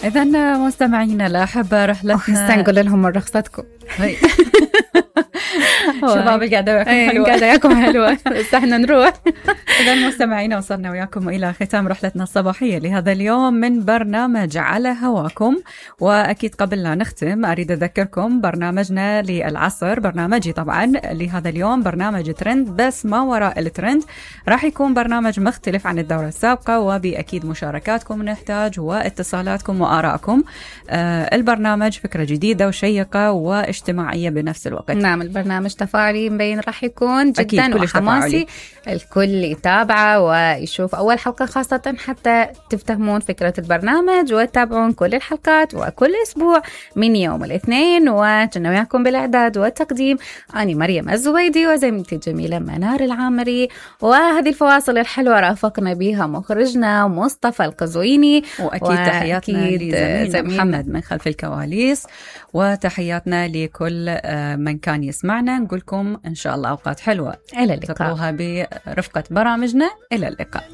إذا مستمعينا الأحبة رحلتنا نقول لهم من رخصتكم. شباب القعدة وياكم حلوة. القعدة وياكم حلوة بس احنا نروح. إذا مستمعينا وصلنا وياكم إلى ختام رحلتنا الصباحية لهذا اليوم من برنامج على هواكم. وأكيد قبل لا نختم أريد أذكركم برنامجنا للعصر، برنامجي طبعا لهذا اليوم برنامج ترند بس ما وراء الترند. راح يكون برنامج مختلف عن الدورة السابقة، وبأكيد مشاركاتكم نحتاج واتصالاتكم وآرائكم. البرنامج فكرة جديدة وشيقة واجتماعية بنفس الوقت. نعم، البرنامج تفاعلي مبين راح يكون جدا وحماسي، الكل يتابعه ويشوف أول حلقة خاصة حتى تفتهمون فكرة البرنامج وتتابعون كل الحلقات وكل أسبوع من يوم الاثنين. وكنا وياكم بالإعداد والتقديم أنا مريم الزبيدي وزميلتي الجميلة منار العامري، وهذه الفواصل الحلوة رافقنا بها مخرجنا مصطفى القزويني. وأكيد تحياتنا لزميلنا محمد من خلف الكواليس، وتحياتنا لكل من كان يسمعنا. نقولكم إن شاء الله أوقات حلوة إلى اللقاء، تقضوها برفقة برامجنا. إلى اللقاء.